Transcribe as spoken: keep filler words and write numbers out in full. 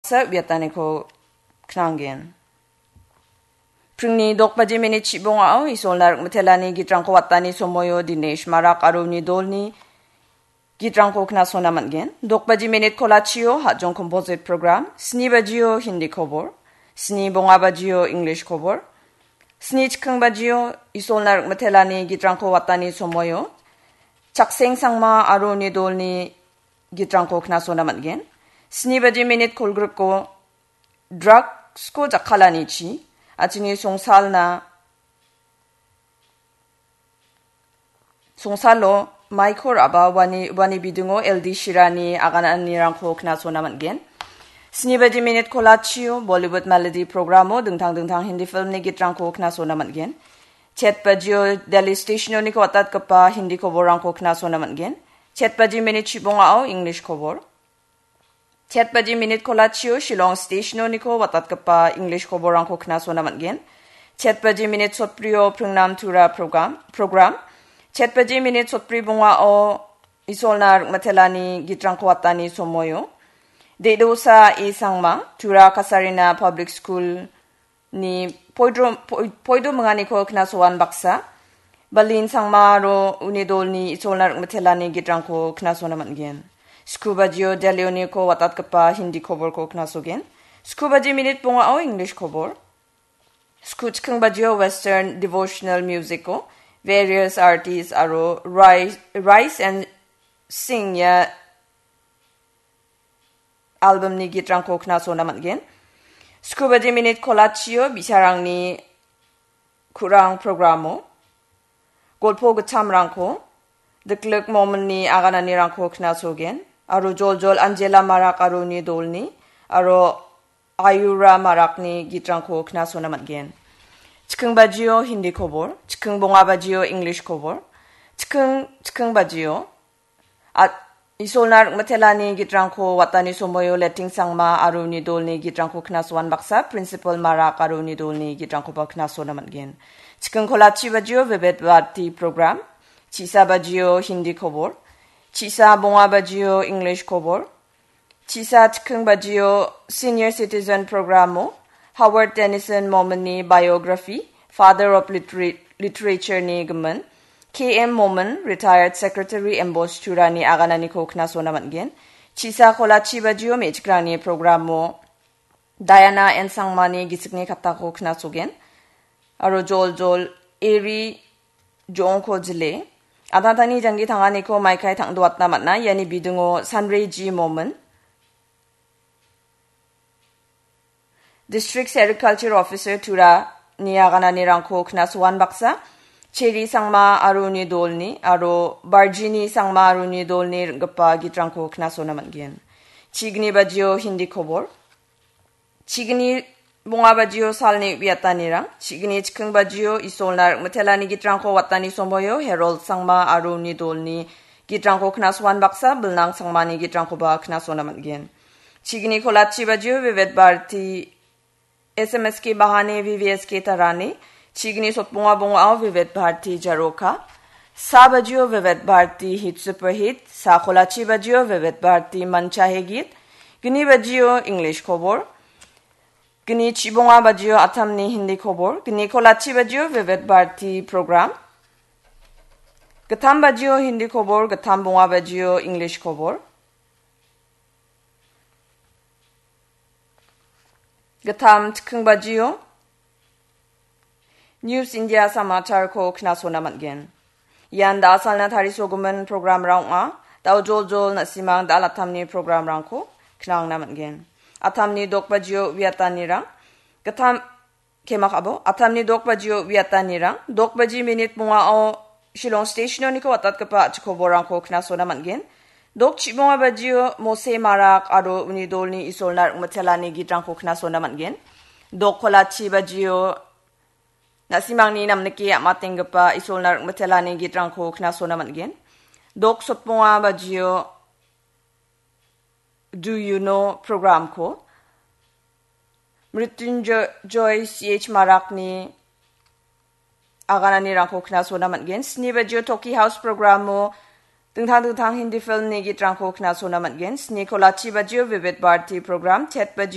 baksa uiataniko knanggen. Pringni dok baji minit chibongao Isolna Rikmitelani gitrangko watani somoio Dinesh Marak aro uni dolni gitrangko knasona man·gen. Dok baji minit kolachio Hajong Composite Program, sni bajio Hindi kobor, sni bonga bajio English kobor, sni chikking bajio Isolna Rikmitelani gitrangko watani somoio Chakseng Sangma aro uni dolni gitrangko knasona man·gen. Sni baji minit kolgriko drugsko jakkalanichi, achini songsalna, songsalo maiko ra·ba uani, uani bidingo L D Shirani agananirangko knasona man·gen. Sni baji minit kolachio Bollywood Melody programo dingtang dingtang Hindi filmni gitrangko knasona man·gen. Chet bajio Delhi stationoniko watatgipa Hindi koborrangko knasona man·gen. Chet baji minit chibongao English kobor. Chet baji minit kolachio Shillong stationoniko watatgipa English koborrangko knasona man·gen. Chet baji minit sotbrio Pringnam Tura program, program. Chet baji minit sotbri bongao Isolna Rikmatelani gitrangko watani somoio. Dedosa E Sangma, Tura Kasarina Public School ni poidro-, poi-, poido minganiko knasoan baksa. Balin Sangma aro uni dolni Isolna Rikmitelani gitrangko knasona man·gen. Sku bajio Delhioniko watatgipa Hindi koborko knasogen. Sku baji minit bongao English kobor. Sku chikking bajio Western devotional musico, various artists aro Rise, Rise and Sing ia albumni gitrangko knasona man·gen. Sku baji minit kolachio bi·sarangni ku·rang programo golpo gitchamrangko, diklik mominni agananirangko knasogen, aro joljol Angela Marak aro uni dolni, aro Ayura Marakni gitrangko knasona man·gen. Chikking bajio Hindi kobor, chikking bonga bajio English kobor, chikking, chikking bajio At-, Isolna Rikmitelani gitrangko watani somoio Leting Sangma aro uni dolni gitrangko knasoan baksa, Principal Marak aro uni dolni gitrangkoba knasona man·gen. Chikking kolachi bajio Vivid Bharati program, chisa bajio Hindi kobor, chisa bonga bajio English kobor, chisa chikking bajio Senior Citizen programo, Howard Tennyson Mominni biography, Father of Litera-, Literature ni gimin, K M Momin, Retired Secretary Embossed Turani agananiko knasona man·gen. Chisa kolachi bajio me·chikrangni programo Diana N Sangmani gisikni katako knasogen. Aro joljol Eri Jongko jile. Atatani janggi tanganiko maikai tangdoatna man·a. Iani bidingo Sanre G Momin. District Sericulture Officer Tura ni agananirangko knasoan baksa, Cheri Sangma aro uni dolni, aro Barjini Sangma aro uni dolni ring·gipa gitrangko knasona man·gen. Chigni bajio Hindi kobor. Chigni bonga bajio salni uiatanirang. Chigni chikking bajio Isolna Rikmitelani gitrangko watani somoio Herold Sangma aro uni dolni gitrangko knasoan baksa, Bilnang Sangmani gitrangkoba knasona man·gen. Chigni kolachi bajio Vivid Bharati S M S K Bahani V V S K Tarani. Chigni sotbonga bongao Vivid Bharati Jaroka. Sa bajio Vivid Bharati Hit Super Hit. Sa kolachi bajio Vivid Bharati Mancha Hegit. Gni bajio English kobor. Gni chibonga bajio Atamni Hindi kobor. Gni kolachi bajio Vivid Bharati program. Gittam bajio Hindi kobor, gittam bonga bajio English kobor. Gittam chikking bajio News India Samacharko knasona man·gen. Ian da·salna tarisogimin programrang ong·a. Da·o joljol na·simang da·al Atamni programrangko knangna man·gen. Atamni dok bajio uiatanirang. Gittam, kemak abo. Atamni dok bajio uiatanirang. Dok baji minit bongao Shillong stationoniko watatgipa a·chik koborrangko knasona man·gen. Dok chibonga bajio Mose Marak aro uni dolni Isolna Rikmitelani gitrangko knasona man·gen. Dok kolachi bajio na·simangni namnike am·atenggipa Isolna Rikmitelani gitrangko knasona man·gen. Dok sotbonga bajio Do You Know programko Mrityunjoy C H Marakni agananirangko knasona man·gen. Sni bajio Toki House programo dingtang dingtang Hindi filmni gitrangko knasona man·gen. Sni kolachi bajio Vivid Bharati program, chet bajio